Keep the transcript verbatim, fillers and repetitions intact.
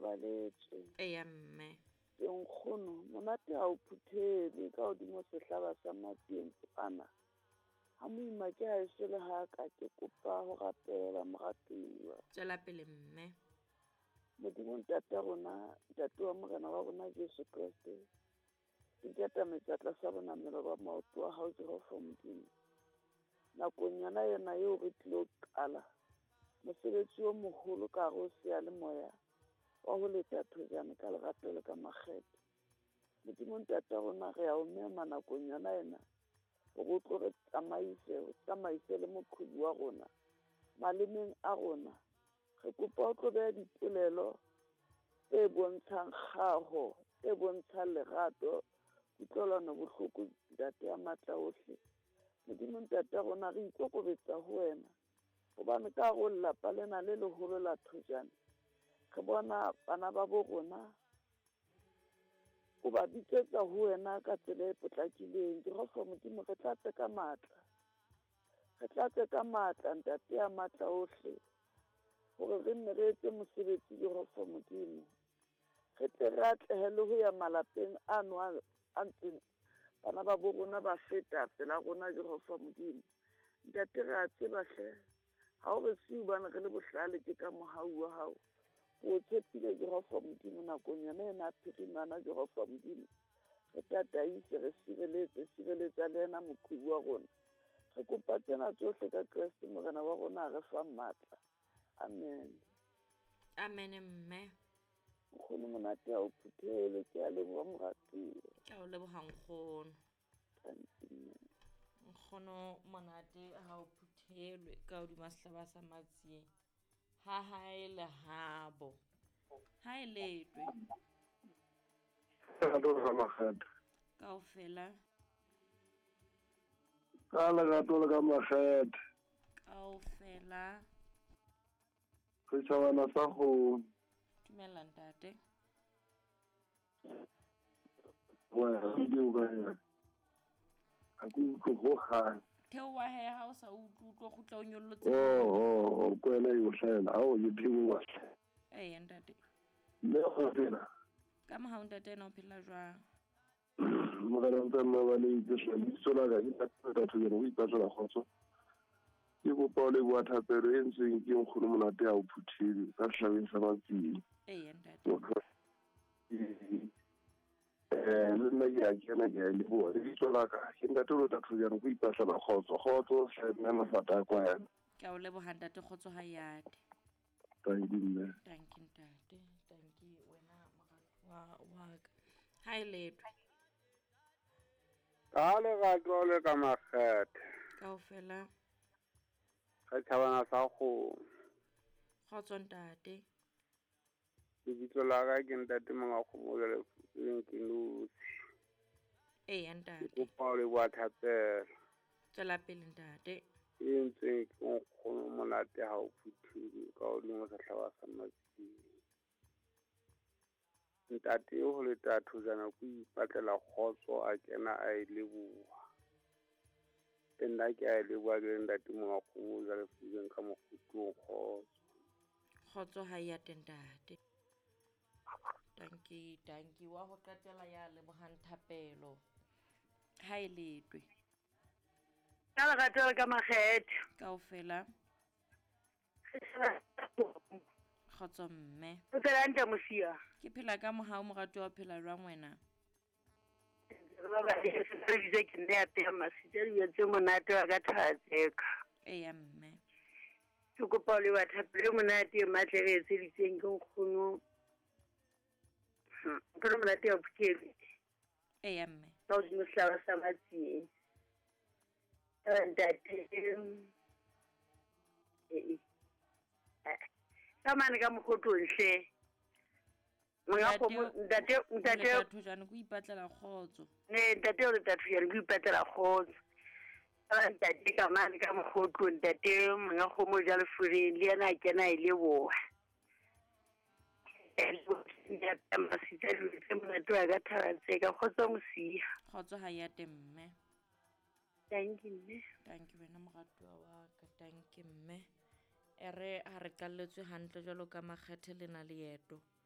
babaletswe. Eya mme. Ke nkgono monate ha o phuthelwe ka hodimo sehlaba sa matsieng kwana. Ha moima ke ha eso le ha ka ke kopa ho rapela moratuwa. Tswela pele mme. Modimo ntate wa rona, ntate wa Morena wa rona Jesu Kreste. Ke katametsa tlasa bonamelo ba maoto a hao Jehova Modimo. Nakong yona yona eo re tlilo qala mosebetsi o moholo ka hare ho seyalemoya wa ho leta thojane ka lerato le ka makgethe. Modimo ntate wa rona re a o mema nakong yona ena hore o tlo re tsamaise, o tsamaise le moqhubu wa rona malemeng a rona. Re kopa o tlo beha dipolelo tse bontshang kgaho, tse bontshang lerato, kutlwelano bohloko ntate ya matla ohle. Modimo ntate wa rona re ikokobetsa ho wena hobane ka hare ho lelapa lena le leholo la thojane re bona bana ba bo rona o ba bitsetsa ho wena ka tsela e potlakileng. Jehova Modimo re tlatse ka matla, re tlatse ka matla ntate ya matla ohle hore re nne re etse mosebetsi Jehova Modimo. Re tle re atlehe le ho ya malapeng ano a a ntseng bana ba bo rona ba feta pela rona Jehova Modimo. Ntate re a tseba hle ha o re siu bana re le bohlale ke ka mohau wa hao. O tshepile Jehova Modimo nakong yona ena phirimana Jehova Modimo. Re tataise, re sireletse, sireletsa le yena moqhubu wa rona. Re kopa tsena tsohle ka Kreste Morena wa rona a re fang matla. Amen. Amen mme. Nkgono monate ha o phuthele, ke a leboha moratuwa. Ke a o leboha nkgono. Thank you, mme. Nkgono monate ha o phuthelwe ka hodima sehlaba sa matsieng. Ha hae le habo. Ha e letwe. Kaofela. Ka lerato le ka makgethe. Kaofela. Setjhabana sa kgomo. Dumela ntate. Wena ke o kae? Ha ke utlwe hohang. Theoha he ha o sa utlwe utlwe kgutla o nyollotse. Oh oh, ko wena e o hlahela ha o ke theoha. Eya ntate. Mme o phela. Ka mohau ntate ena o phela jwang? Morena ntse nna ba le itse hle lebitso la ka ke ntate Thojane o ipatlela kgotso. Ke kopa ho leboha thapelo e entsweng ke nkgono monate ha o phuthile ka sehlabeng sa matsieng. Eya ntate. Eh le nna ke a kena ke a leboha. Lebitso la ka ke ntate Lota Thojane o ipatlela kgotso. Kgotso hle mme mafata a kwena. Ke a o leboha ntate kgotso ha yate. Thank you mme. Thank you ntate. Thank you wena moratuwa wa ka. Ha e letwe. Ka lerato le ka makgethe. Kaofela. Setjhabana sa kgomo. Kgotso ntate. Lebitso la ka ke ntate monga kgomo jwale leng ke notshi. Eya ntate. Ke kopa ho leboha thapelo. Tswela pele ntate. E entsweng ke nkgono monate ha o phuthile ka hodimo sehlaba sa matsieng. Ntate ho leta thojana ko ipatlela kgotso a kena a e leboha. Nna ke a e leboha ke ntate monga kgomo jwale fubeng ka mokgutlong kgotso. Kgotso ha ya teng ntate. Tanki, tanki wa ho qetela ya lebohang thapelo. Ha e letwe. Ka lerato le ka makgethe. Kaofela. Kgotso mme. O phela hantle mosia? Ke phela ka mohau moratuwa o phela jwang wena? Re ba ba re bitse ke nne ya pea masitse le tse monate wa ka thatseka. Eya mme. Ke kopa ho leboha thapelo e monate e matla e re etseditseng ke nkgono. Nkgono monate ya phuthele. Eya mme. Ka hodimo sehlaba sa matsieng. Ntate eh ka mane ka mokgotlong hle. Monga kgomo ntate ntate Thojane ko ipatlela kgotso. Ne ntate o leta Thojane ko ipatlela kgotso. Ntate ka mane ka mokgotlong ntate monga kgomo ja lefureng le yena a kena e leboha. Ntate masitse le monate wa ka thabatse ka kgotso mosia. Kgotso ha ya teng mme. Thank you mme. Thank you wena moratuwa wa ka. Thank you mme. Ere ha re qalletswe hantle jwalo ka makgethe le na leeto.